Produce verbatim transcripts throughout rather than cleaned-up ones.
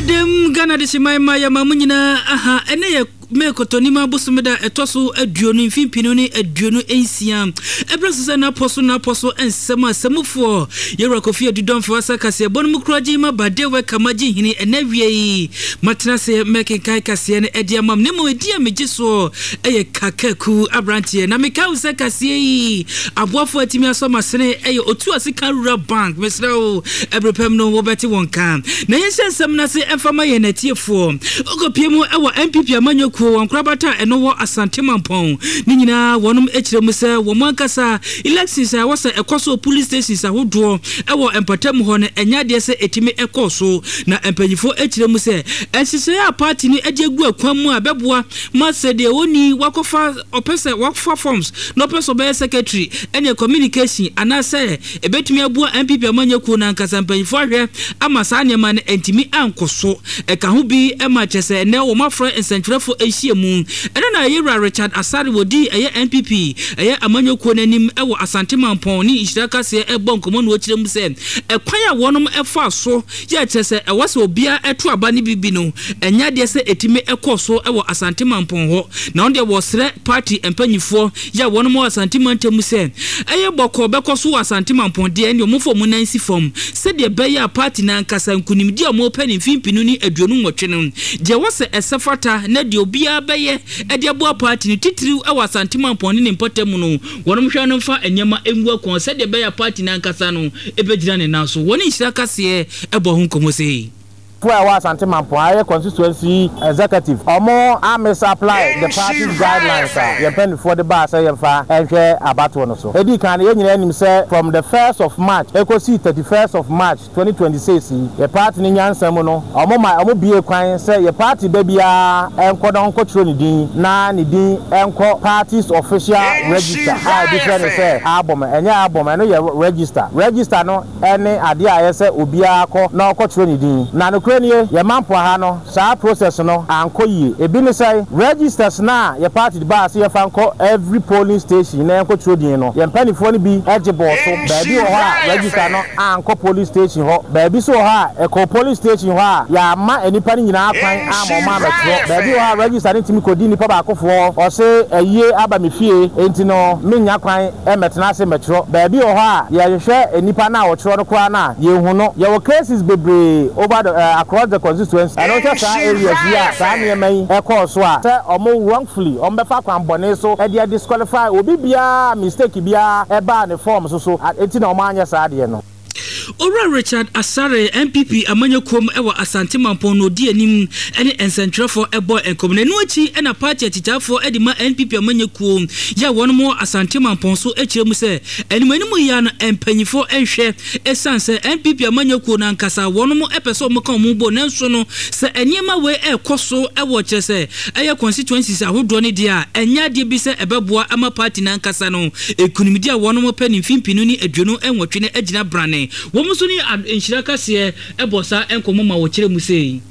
Dɛm Ghana de hyeman ma yɛma mo nyinaa aha. Ɛnɛ yɛ May Kɔtɔnim abosome da ɛtɔ so aduonu, mfe mpinu ne aduonu nsia. Ɛberɛ so sɛ n'apɔ so n'apɔ so nsɛm a sɛmufoɔ Yɛwura Kofi Adudɔmfo asa kaseɛ bɔ no mu kura gye ma ba de wɛka ma gye hini. Ɛnɛ wie yi matena ase mɛkenkan kaseɛ no ɛde ama m, na mmom ɛdi a megye soɔ ɛyɛ Kakaku aberanteɛ, na meka wo sɛ kaseɛ yi aboafoɔ atumi asɔ masene ɛyɛ Otu Ase ka Rural Bank. Mesrɛ wo, ɛberɛ pɛm no wobɛte wɔn ka na yɛnhyɛ nsɛm no ase ɛmfa ma yɛn atiefoɔ. Wokɔpie mu ɛwɔ N P P amanyɔkuo wɔn korabata a ɛno wɔ Asante Mampɔn ne nyinaa, wɔnom akyerɛ mu sɛ wɔn ankasa elections a ɛwɔ sɛ ɛkɔ so polling stations ahodoɔ ɛwɔ mpɔtam hɔ no, ɛnyɛ adeɛ sɛ ɛtumi ɛkɔɔ so, na mpanyinfoɔ akyerɛ mu sɛ nhyehyɛeɛ a party no de agu akwan mu a bɛboa ma sɛ deɛ wɔni wakɔfa ɔpɛ sɛ wakɔfa forms na ɔpɛ sɛ ɔbɛyɛ secretary ɛne communication anaasɛ ɛbɛtumi aboa N P P amanyɔkuo no ankasa, mpanyinfoɔ ahwɛ ama saa nneɛma no ntumi ankɔ so. Ɛka ho bi ma kyerɛ sɛ ɛnɛ wɔn afrɛ nsɛntwerɛfoɔ ahyia mu. Ɛno na ɛyɛ Richard Asare wɔdi ɛyɛ N P P ɛyɛ amanyɔkuo no anim ɛwɔ Asante Mampɔn ne Nhyira Kaseɛ ɛbɔ nkɔmmɔ no, wɔkyerɛ mu sɛ ɛkwan a wɔnom ɛfa so yɛ kyerɛ sɛ ɛwɔ sɛ obiara ɛto aba no bibi no, ɛnyɛ adeɛ sɛ ɛtumi ɛkɔ so ɛwɔ Asante Mampɔn hɔ, na wɔn deɛ wɔsrɛ party mpanyinfoɔ yɛ a wɔnom wɔ Asante mantam mu sɛ ɛyɛ bɔkɔɔ bɛkɔ so wɔ Asante Mampɔn deɛ, ɛne ɔmo fɔ ɔmo nan si fam sɛdeɛ ɛbɛyɛ a party n'ankasa nkunimdi a ɔmo pɛ ne mfimfini ne aduonu nwɔtwe no deɛ wɔ sɛ ɛsɛ fata, na deɛ obiara bɛyɛ ɛde aboa party no titiriw ɛwɔ Asante Mampɔn ne ne mpɔtam mu no, wɔnom hwɛ no mfa nneɛma ngu akɔn sɛdeɛ ɛbɛyɛ a party n'ankasa no ɛbɛgyina ne nan so. Wɔne Nhyira Kaseɛ ɛbɔ ho nkɔmmɔ sɛ fo a ɛwɔ Asante Mampɔn ayɛ constituency executive, ɔmo a misapply the party's guidelines a yɛn mpanimfoɔ de baa sɛ yɛmfa nhwɛ abatoɔ no so. Edi kan no, yɛn nyinaa nim sɛ from the first of March ekosi thirty first of March twenty twenty six yi, yɛ party no nyansa mu no, ɔmo ma ɔmo bie kwan sɛ yɛ party ba biara ɛnkɔ na ɔnkɔtwerɛ ne din na ne din ɛnkɔ party's official register a ebi frɛ no sɛ album. Ɛnyɛ album, ɛno yɛ register. Register no ɛne adeɛ a ɛyɛ sɛ obiara kɔ na ɔkɔtwerɛ ne din. Na nokorɛ nie, yɛ mampo ha no, saa process no ankɔ yie. Ebi ne sɛ registers na yɛ party baa sɛ yɛfa nkɔ every polling station na yɛnkɔtwerɛ din no, yɛn mpanimfoɔ no bi ɛgye bɔɔ so. Baabi wɔ hɔ a register no ankɔ polling station hɔ, baabi so wɔ hɔ a ɛkɔ polling station hɔ a yɛama nnipa no nyinaa kwan ama ɔmo amɛtwerɛ. Baabi wɔ hɔ a register no ntumi kɔdi nnipa baakofoɔ, ɔse ayie aba me fie enti no menya kwan ɛmɛtena ase mɛtwerɛ. Baabi wɔ hɔ a yɛhwehwɛ nnipa no a wɔtwerɛ no koraa no a yɛnhu no. Yɛwɔ cases bebree over the uh, across the constituency. Ɛno hwɛ saa areas yi a saa nneɛma yi ɛkɔɔ so a sɛ ɔmo wrongfully ɔmo bɛfa kwan bɔne so ɛde disqualify obi biara, mistake biara ɛbaa ne form so so eti na ɔmo anyɛ saa adeɛ no. Owura Richard Asare, N P P amanyɔkuom wɔ Asante Mampɔn no, ɔdi anim ne nsɛntwerɛfoɔ ɛbɔ nkɔmmɔ. Na ɛno akyi ɛna party akyitaafoɔ de ma N P P amanyɔkuo yɛ a wɔnom wɔ Asante Mampɔn so akyerɛ mu sɛ anim anim yi a no mpanyinfoɔ nhwɛ, ɛsiane sɛ N P P amanyɔkuo no ankasa wɔnom ɛpɛ sɛ wɔn ka wɔn bɔ, nanso no sɛ nneɛma wei ɛrekɔ so ɛwɔ kyerɛ sɛ ɛyɛ constituencies ahodoɔ no deɛ a, ɛnyɛ adeɛ bi sɛ ɛbɛboa ama party no ankasa no nkunimdi a wɔnom pɛ ne mfimfini ne aduonu nwɔtwe no agyina brane. Wɔn nso ne Nhyira Kaseɛ ɛbɔ saa nkɔmmɔ ma wɔkyerɛ mu sei.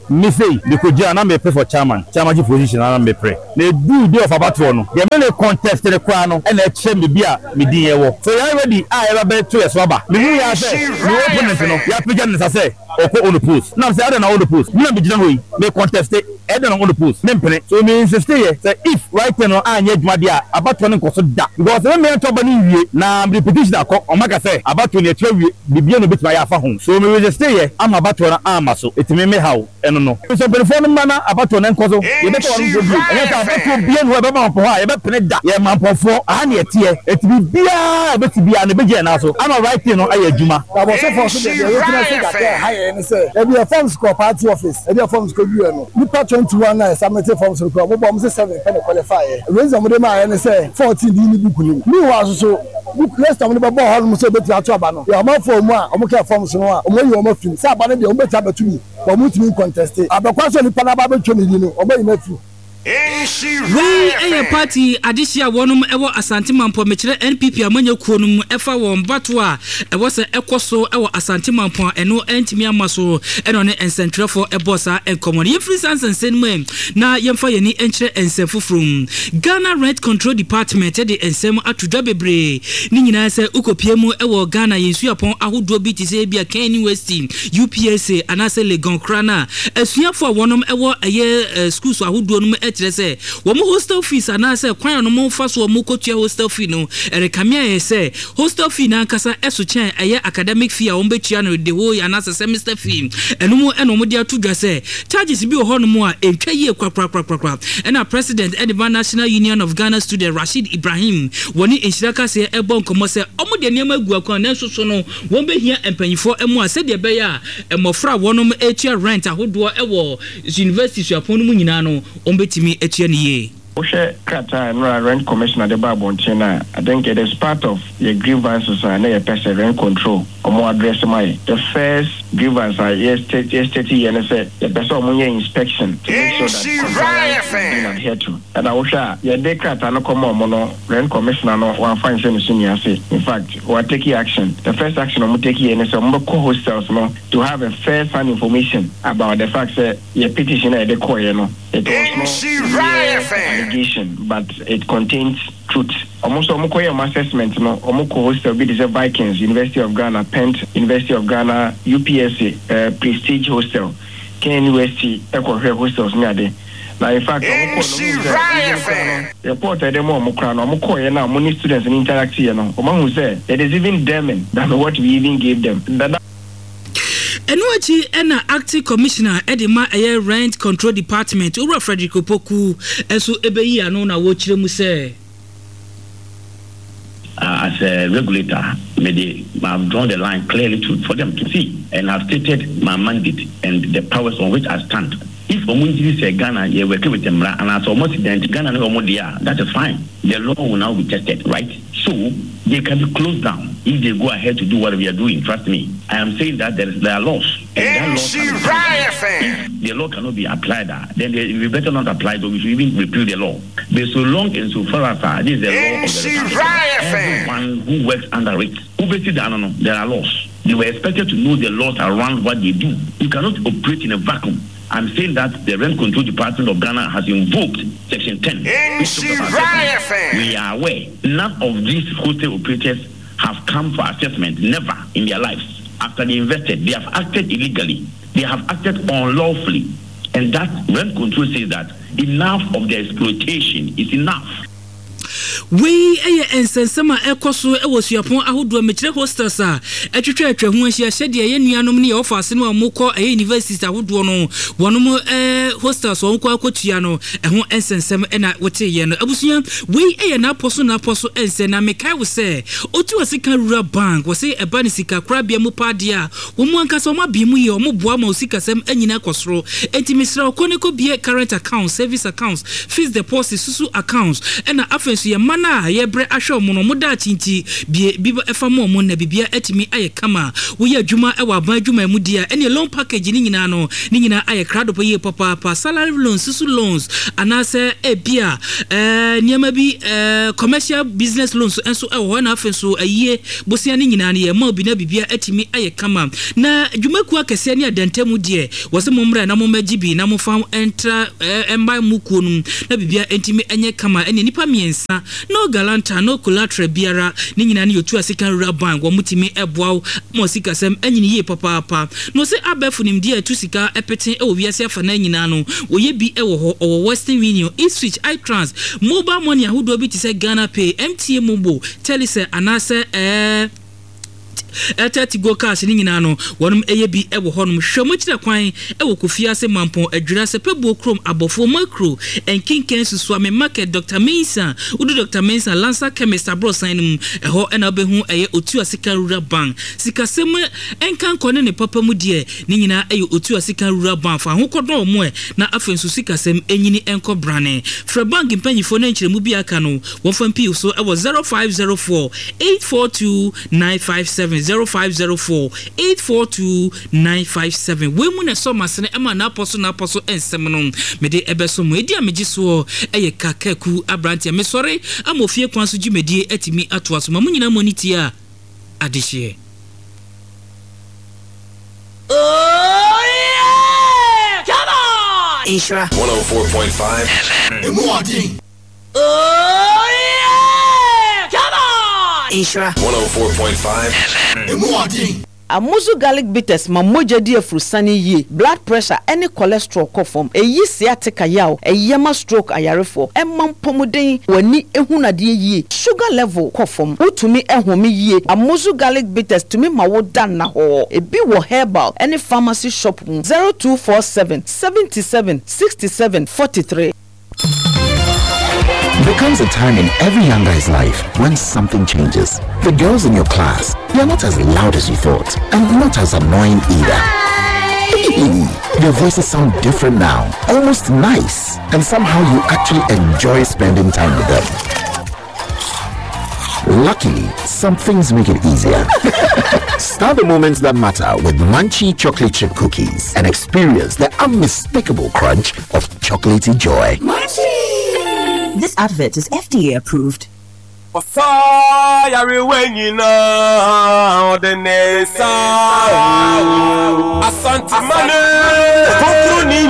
Me sei mekɔgyina na mepɛ for chairman chairmanship position na mepere na edu day of abatoɔ no deɛ mene contest ne koraa no, ɛna ɛkyerɛ me bi a me din yɛ wɔ so yɛn ready a yɛba bɛto yɛ so aba. Mehu yɛ sɛ me opponent no yɛapagya ne nsa sɛ ɔkɔ unopposed nam sɛ ɛdɛ na unopposed me na megyina hɔ yi me contest, ɛdɛ na unopposed me mpene so. Me insist yɛ sɛ if right no anyɛ adwuma deɛ a, abatoɔ no nkɔ so da, because me mmea ntɔ ba no nwie na mede petition akɔ, ɔmo aka sɛ abatoɔ no yɛkyerɛ wie, biribiara na obetumi ayɛ afa ho so. Me resist yɛ ama abatoɔ no ama so etumi me haw ɛno no sɛ mpanyinfoɔ no mma na abatoɔ no nkɔ so. Yɛbɛtɔ wɔn nso bio, ɛnyɛ sɛ abatoɔ bia no hɔ ɛbɛma mpɔ hɔ a yɛbɛpene da. Yɛ mampɔfoɔ aha ne yɛteɛ, eti biribiara a ɛbɛsi biara no ebɛgye yɛn nan so ama right thing no ayɛ adwuma. Abɔsɔfoɔ so deɛ deɛ yɛgyina so kakra ɛha yɛn ne sɛ ebi yɛ forms kɔ party office, ebi yɛ forms kɔ dua no, nipa twenty one na yɛ forms no kora ɔmo bɔ ɔmo sɛ seven pɛ na qualify yɛ. Reason ɔmo de maa yɛ ne sɛ fourteen di ne book nim. Meanwhile soso book list ɔmo de bɛbɔ hɔ nom sɛ obetumi ato aba no yɛ ɔmanfoɔ mu a ɔmo kɛ forms no a ɔmo ayi ɔmo afim sɛ aba no deɛ ɔmo betumi abɛto bi, ɔmo ntumi ncontest abɛkwa sɛ nipa n'aba abɛtwa ne di no, ɔmo ayi n'afiri. Wei yɛ party adehye a wɔnom wɔ Asante Mampɔn, mekyerɛ N P P amanyɔ kuo no mu, ɛfa wɔn bato a ɛwɔ sɛ ɛkɔ so wɔ Asante Mampɔn a ɛno ɛntumi amma so, ɛna ɔne nsɛntwerɛfoɔ ɛbɔɔ saa nkɔmmɔ no. Yɛmfiri saa nsɛnsɛm no mu na yɛmfa yɛn ani nkyerɛ nsɛm foforɔ mu. Ghana Rent Control Department de nsɛm ato dwa bebree, ne nyinaa sɛ wokɔpie mu wɔ Ghana yɛn suapɔn ahodoɔ bi te sɛ ebi a K N U S T, U P S A anaasɛ Legon koraa no a, asuafoɔ a wɔnom wɔ ɛyɛ schools ahodoɔ no mu kyerɛ sɛ wɔn hostel fees anaasɛ kwan a wɔn fa so wɔn kɔtua hostel fee no ɛrekame ayɛ sɛ hostel fee n'ankasa ɛso kyɛn ɛyɛ academic fee a wɔn bɛtua no the whole anaasɛ semester fee. Ɛno mu ɛna wɔn de ato dwa sɛ charges bi wɔ hɔnom a ɛntwa yie korakorakorakora. Ɛna president ɛde ma National Union of Ghana Student, Rashid Ibrahim, wɔne Nhyira Kaseɛ ɛbɔ nkɔmmɔ sɛ wɔn de nneɛma agu akwan, nanso so no wɔn bɛhia mpanyinfoɔ mu a sɛdeɛ ɛbɛyɛ a mmɔfra a wɔnom etua rent ahodoɔ ɛwɔ university suapɔn no mu nyinaa no, wɔn bɛtumi atua ne yie. Wohwɛ krataa a nnora Rent Commissioner de ba abɔnten no a, I think it is part of yɛ grievances a na yɛpɛ sɛ rent control ɔmo address ma yɛ. The first grievance a yɛ state yɛ state yɛ ne sɛ yɛpɛ sɛ ɔmo yɛ inspection to make sure that compliance is being adhered to. Ɛna wohwɛ a, yɛde krataa no kɔma ɔmo no, Rent Commissioner no wamfa nhyɛ ne so ni ase. In fact, wa take action. The first action ɔmo take yɛ ne sɛ ɔmo bɛkɔ hostels no to have a first hand information about the fact sɛ yɛ petition a yɛde kɔɔyɛ no, it was not mere allegation but it contains truth. Ɔmo nso ɔmo kɔyɛ ɔmo assessment no, ɔmo kɔ hostel bi te sɛ Vikings, University of Ghana, Pent, University of Ghana, U P S A, uh, Prestige Hostel, K N U S T, ɛkɔhwɛ hostels ne ade. Na in fact, ɔmo kɔ no, ɔmo sɛ even kora no, report a ɛde mu ɔmo kora no, ɔmo kɔɔyɛ na ɔmo ne students no interact yɛ no, ɔmo ahu sɛ it is even damning than what we even gave them. Dada. Ɛno akyi ɛna acting commissioner ɛde ma ɛyɛ Rent Control Department, Owura Frederick Opoku, ɛnso ɛbɛyi ano na wɔkyerɛ mu sɛ uh, as a regulator, maybe I've drawn the line clearly to, for them to see, and I've stated my mandate and the powers on which I stand. If ɔmo ntiri sɛ Ghana yɛ working with mmara and as ɔmo si dɛn Ghana ne ɔmo deɛ, that is fine. The law will now be tested, right? So they can be closed down if they go ahead to do what we are doing. Trust me. I am saying that there, is, there are laws. And that law can be If the law cannot be applied, uh, then they, we better not apply it, or we should even repeal the law. But so long and so far as uh, this is the law of the republic, everyone who works under it, obviously, no, no, there are laws. They were expected to know the laws around what they do. You cannot operate in a vacuum. I'm saying that the Rent Control Department of Ghana has invoked Section ten, which talks about assessment. We are aware none of these hostel operators have come for assessment, never in their lives. After they invested, they have acted illegally, they have acted unlawfully. And that rent control says that enough of the exploitation is enough. Wei yɛ nsɛnsɛm a ɛkɔ so wɔ suapɔn ahodoɔ, mekyerɛ hostels a ɛtwitwa atwa ho ahyia, sɛdeɛ yɛn nuanom ne yɛwɔ faase no a wɔkɔ ɛyɛ universities ahodoɔ no, wɔnom ɛɛ hostels wɔn kɔ akɔtua no, ɛho nsɛnsɛm ɛna wɔteeɛ no. Abusua, wei yɛ n'apɔ so n'apɔ so nsɛ na mekae wo sɛ Otu Asika Rural Bank wɔsɛ ɛba ne sika korabea mu paadeɛ a wɔn mu ankasa wɔn abie mu yie, wɔn boa ma osikasɛm anyina kɔ soro. Enti mesrɛ ɔkɔ ne kɔ bie current account, service accounts, fixed deposit, susu accounts, ɛna afei nso yɛ mma no a yɛbrɛ ahwɛ ɔmo no, ɔmo daakye nti bie bi ɛfa mu ɔmo na bibia atumi ayɛ kama. Woyɛ adwuma ɛwɔ aban adwuma mu di a, ɛne loan package ne nyinaa no ne nyinaa ayɛ krado pa yie papaapa. Salary loans, susu loans, anaasɛ ebia ɛɛ nneɛma bi, ɛɛ commercial business loans nso ɛwɔ hɔ, ɛna afei nso ayie bosia ne nyinaa no yɛ ma obi na bibia atumi ayɛ kama. Na dwumakuo akɛseɛ ne adantamu deɛ, wɔsɛ mo mmerɛ na mo mmɛgye bi na mo fa ntra ɛɛ mma mu kuo no mu na bibia ntumi nyɛ kama. Ɛne nipa mmiɛnsa, no guarantor, no collateral biara, ne nyinaa ne yɛtu Asika Rural Bank. Wɔn tumi ɛboa wo ma sikasɛm anyini yie papaapa. Na ɔsɛ abɛɛfo nimdeɛ a ɛtu sika ɛpete ɛwɔ wiase afa na nyinaa no, wɔyɛ bi ɛwɔ hɔ. Ɔwɔ Western Union, eSwitch, iTrans, mobile money ahodoɔ bi te sɛ Ghana Pay, M T N MoMo, Telecel anaasɛ ɛɛ Airtel Tigo Cash ne nyinaa no, wɔnom ɛyɛ bi ɛwɔ hɔnom. Hwɛ mo kyerɛ kwan ɛwɔ Kofi Ase, Mampɔn, Adwira, Sɛpɛbuo kurom, Abɔfoɔ, Makro, Nkenken, Susuame Market, Doctor Mensa. Wodu Doctor Mensa, Lansa Chemist aborɔsan no mu, ɛhɔ ɛna wobɛhu ɛyɛ Otu Asika Rural Bank. Sikasɛm ɛnka ne ne papa mu deɛ, ne nyinaa ɛyɛ Otu Asika Rural Bank. Fa ho kɔdɔn mo ɛ na afei nso sikasɛm ɛnyini ɛnkɔ brane. Frɛ bank mpanyinfoɔ no nkyerɛmu bi aka no, wɔmfa mpii so ɛwɔ zero five zero four eight four two nine five seven. nine five seven, zero five zero four eight four two nine five seven. Wei mu na ɛsɔ masene ɛma n'apɔ so n'apɔ so nsɛm no mede ɛbɛso mu. Ɛdi a megye soɔ ɛyɛ Kakaku aberanteɛ. Mesɔre ama ofie kwan so dwumadie atumi atoa so ma mo nyinaa mo ani tie a adehyeɛ. Oh yeah! Come on! Nhyira one oh four point five Emu ɔden. Oh yeah! Come on! Nhyira one oh four point five Emu ɔden. Amuzu Garlic Bitters ma mogya di afurusane yie, blood pressure ɛne cholesterol kɔ fam, ɛyi sciatica yaw, ɛyɛ ma stroke ayarefoɔ, ɛma mpɔmuden, w'ani ehunu adeɛ yie, sugar level kɔ fam, wotumi ɛhome yie. Amuzu Garlic Bitters tumi ma wo da nnahɔɔ. Ebi wɔ herbal ɛne pharmacy shop mu. zero two four seven seventy-seven sixty-seven forty-three. There comes a time in every young guy's life when something changes. The girls in your class, they are not as loud as you thought, and not as annoying either. Their voices sound different now, almost nice, and somehow you actually enjoy spending time with them. Luckily, some things make it easier. Start the moments that matter with Munchie Chocolate Chip Cookies and experience the unmistakable crunch of chocolatey joy. This advert is F D A approved. Ɔsa yarewa nyinaa ɔde ne nsa Asantemane.